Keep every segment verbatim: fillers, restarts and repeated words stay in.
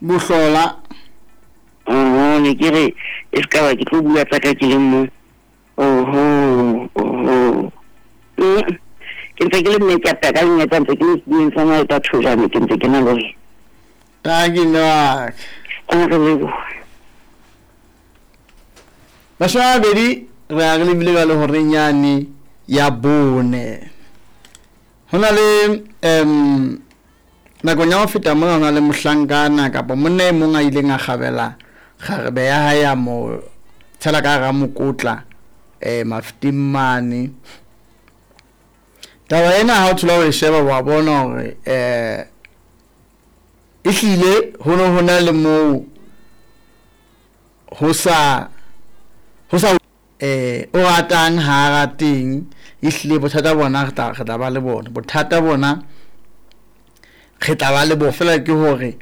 Bohlola. Oho, ne ke re e se ka ba ke tlo bua tsa ka ke le mong. Oho, oho. Mm. Ke ntse ke le mme ke a peka lenyatsa ntse ke le sedumeng sa maeta thojane ke ntse ke na le wena. Tanki mme wa ka. A re lebohe. Mashome a mabedi re a re lebile jwale horeng yane ya bone. Ho na le um nakong ya ho feta mona ho na le mohlankana kapa monna e mong a ileng a kgabela kgarebe ya hae ya mo tshela ka hara mokotla um mafeteng mane. Taba ena ha o thola ho e sheba wa bona hore um ehlile ho ne ho na le moo ho sa ho sa eh o ratang ha a rateng ehlile bothata bona re tla re tla ba le bona bothata bona re tla ba le bo fela ke hore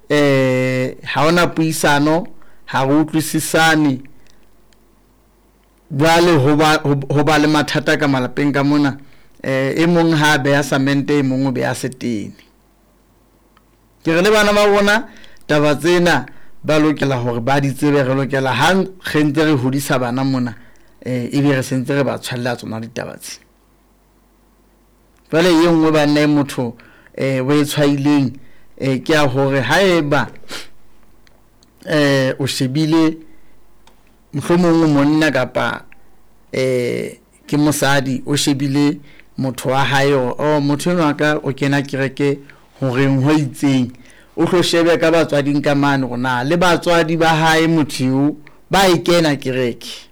eh ha hona puisano ha re utlwisisane jwale ho ba ho ba le mathata ka malapeng ka mona eh e mong ha beha samente e mong o beha setene. Ke re le bana ba rona taba tsena ba lokela hore ba di tsebe re lokela ha re ntse re hodisa bana mona eh ebe re sentse re ba tshwalla tsona ditaba tse. Jwale e nngwe banna e motho eh o e tshwaileng eh ke ya hore haeba eh o shebile mohlomong monna kapa eh ke mosadi o shebile motho wa hae hore oh motho enwa ka o kena kereke horeng ho itseng o tlo shebe ka batswading ka mane hore na le batswadi ba hae motho eo ba e kena kereke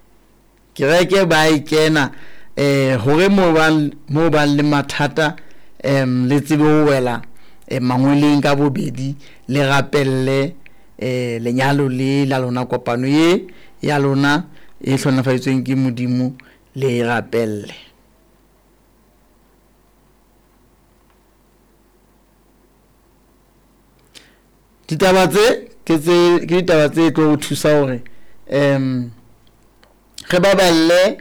kereke ba e kena eh hore mo bang mo bang le mathata em le tsebe ho wela eh, mangweleng ka bobedi le rapelle eh lenyalo le la lona kopano ye ya lona e hlonafaditsweng ke Modimo le e rapelle. Ditaba tse ke tse ke ditaba tse tlo ho thusa hore em re baballe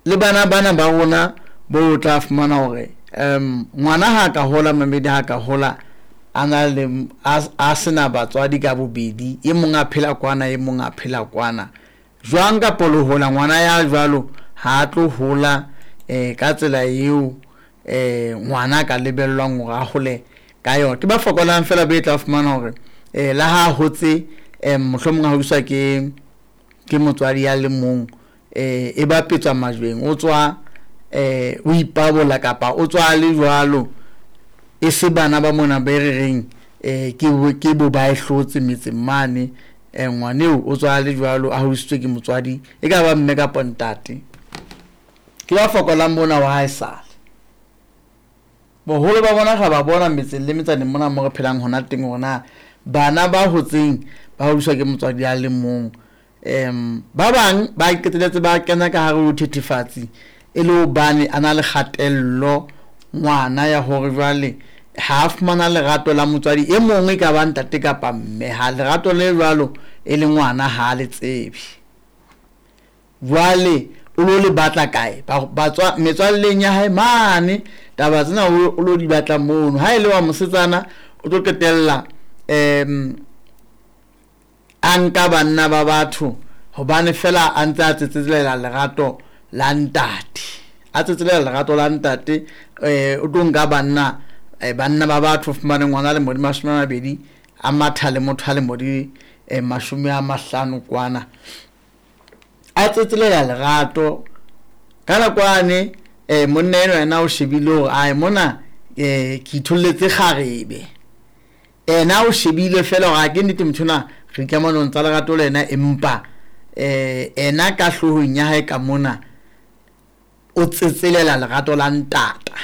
le bana bana ba rona bo tla fumana hore em ngwana ha ka hola mamedi ha ka hola a na le a sena batswadi ka bobedi e mong a phela kwana e mong a phela kwana jwang ka lo hola ngwana ya jwalo ha tlo hola eh ka tsela eo eh ngwana ka lebellwang hore a hole ka yona. Ke ba fokolang fela be tla fumana hore eh la ha hotse eh mohlomong ha hodiswa ke ke motswadi ya le mong eh e bapetswa majweng o tswa eh o ipabola kapa o tswa le jwalo e se bana ba mona be re reng eh ke ke bo ba e hlotse metseng mane eh ngwaneo o tswa le jwalo a hodisitswe ke motswadi e ka ba mme kapa ntate. Ke ba fokolang bona wa hae sale boholo ba bona ga ba bona metseng le metsaneng mona mo re phelang hona teng hore na bana ba hotseng ba hodiswa ke motswadi ya le mong em ba bang ba qetelletse ba kena ka hare ho thethefatsi e le hobane a na le kgatello ngwana ya hore jwale ha fumana lerato la motswadi e mong e ka ba ntate kapa mme ha lerato le jwalo e le ngwana ha le tsebe jwale o lo le batla kae ba tswa metswalleng ya hae mane taba tsena o lo di batla mono ha ile wa mosetsana o tlo qetella em a nka banna ba batho hobane fela a ntse a tsetselela lerato la ntate a tsetselela lerato la ntate eh o tlo nka banna banna ba batho fumane ngwana le modi mashome a mabedi a matha le motho a le modi mashome a mahlano kwana a tsetselela lerato ka nakwane eh monna eno yena o shebile hore ai mona eh ke itholletse kgarebe ena o shebile fela hore a ke nnete motho ona re kamanong tsa lerato le yena empa eh ena ka hloohong ya hae ka mona o tsetselela lerato la ntata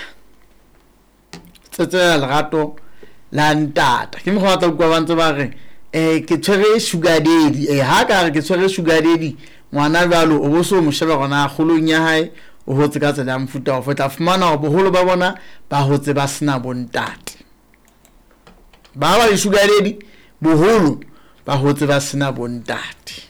tsetselela lerato la ntata ke mokgwa tla utlwa ba ntse ba re eh ke tshwere sugar daddy eh ha ka re ke tshwere sugar daddy ngwana jwalo o bo so mo sheba gona kgolong ya hae o hotse ka tsela ya mofuta ofe tla fumana hore boholo ba bona ba hotse ba sena bontate ba ba di sugar daddy boholo ba hotse ba sena bontate.